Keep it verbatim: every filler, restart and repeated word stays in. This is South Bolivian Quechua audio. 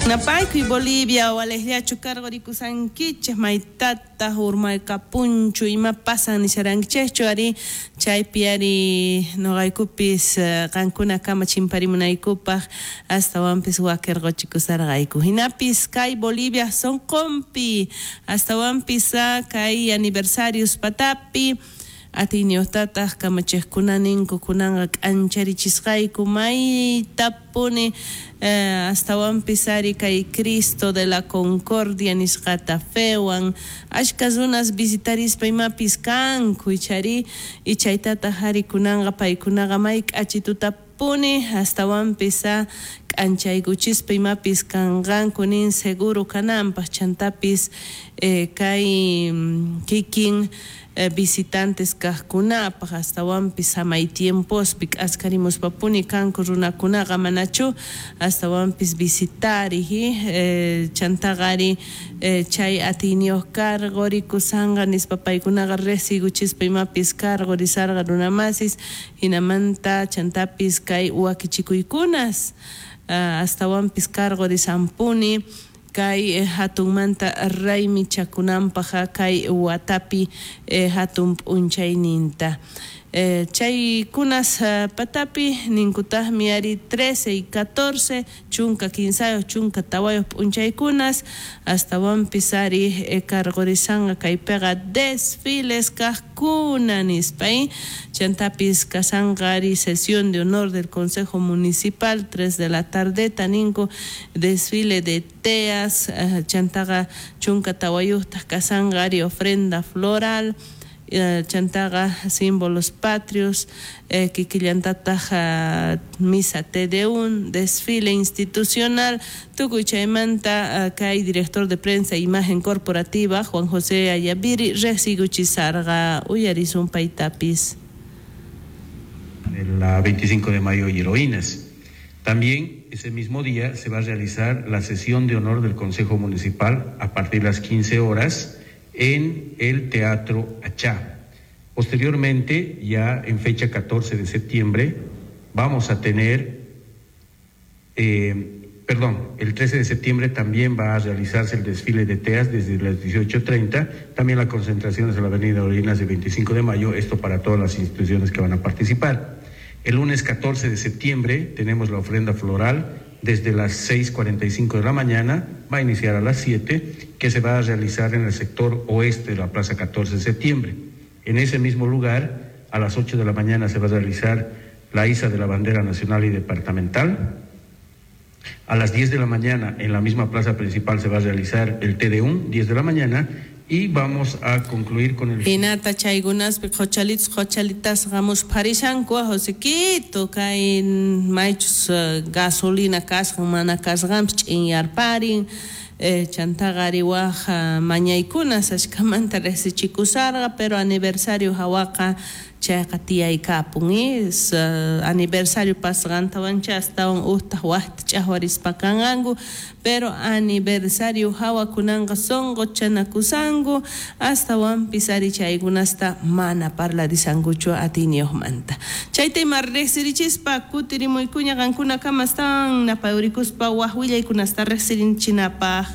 Napaykuy Bolivia walejllachu cargorikusankichej maytataq urmaykapunchu ima pasan nisharankichejchu ari chaypi ari noqaykupis qankunakama chimparimunaykupaq astawanpis wakirquchikusarqayku hinapis kay Bolivia sonqonpi astawanpis kay aniversarios patapi atiyniyuqtataq kamachejkuna ninku kunanqa k'ancharichisqayku maytapuni eh, astawanpis ari kay Cristo de la Concordia nisqata fewan ashka runas visitarispa imapis kanku ichari ichaytataq ari kunanqa paykunaqa may k'achitutapuni astawanpis k'anchaykuchispa imapis kanqanku nin seguro kananpaq chantapis eh, kay kikin Eh, visitantes kajkunapaq astawanpis samay tiempospi k'askarimuspapuni kanku runakunaqa manachu astawanpis visitari eh, chantaqa ari eh, chay atiyniyuq cargorikusanqa nispa paykunaqa riqsiykuchispa imapis cargorisarqa runamasis hinamanta chantapis kay wakichikuykunas uh, astawanpis cargorisanpuni kay eh, hatunmanta raymichakunanpaq kay watapi eh, hatun p'unchayninta eh, chaykunas uh, patapi ninkutaqmi ari trece y catorce chunka kinsayuq chunka tawayuq p'unchaykunas astawanpis ari eh, cargorisanqa kaypiqa desfiles kaqkuna nispa chantapis kasanqa ari sesión de honor del Consejo Municipal tres de la tardeta ninku desfile de teas uh, chantaqa chunka tawayuqtaq kasanqa ari ofrenda floral chantaqa símbolos patrios eh, kikillantataq uh, misa Te Deum desfile institucional tukuy chaymanta uh, kay director de prensa e imagen corporativa Juan José Ayaviri riqsiykuchisarqa uyarisun paytapis. La veinticinco de mayo y heroínas. También ese mismo día se va a realizar la sesión de honor del Consejo Municipal a partir de las quince horas en el Teatro Achá. Posteriormente, ya en fecha catorce de septiembre, vamos a tener, eh, perdón, el trece de septiembre también va a realizarse el desfile de teas desde las dieciocho treinta, también la concentración es en la avenida Orinas de veinticinco de mayo, esto para todas las instituciones que van a participar. El lunes catorce de septiembre tenemos la ofrenda floral desde las seis cuarenta y cinco de la mañana, va a iniciar a las siete, que se va a realizar en el sector oeste de la Plaza catorce de septiembre. En ese mismo lugar, a las ocho de la mañana se va a realizar la iza de la bandera nacional y departamental. A las diez de la mañana, en la misma plaza principal, se va a realizar el Te Deum, diez de la mañana, y vamos a concluir con el... Hinata chaykunaspi qhochalitas qhochalitas qamuspharishanku Josequito kay maychus gasolina kasqan mana kasqanpis ch'inyarparin eh, chantaqa ari waj mañaykunas ashkamanta riqsichikusarqa pero aniversario hawaqa chayqa tiyaykapun is uh, aniversario pasqantawancha astawan uqtaq waqta ch'aqwarispa kanqanku pero aniversario hawakunanqa sunquchanakusanku astawanpis ari chaykunasta mana parlarisankuchu atiyniyuqmanta chayta ima riqsirichispa kutirimuykuña qankunakama astawan napayurikuspa waj willaykunasta riqsirinchinapaq.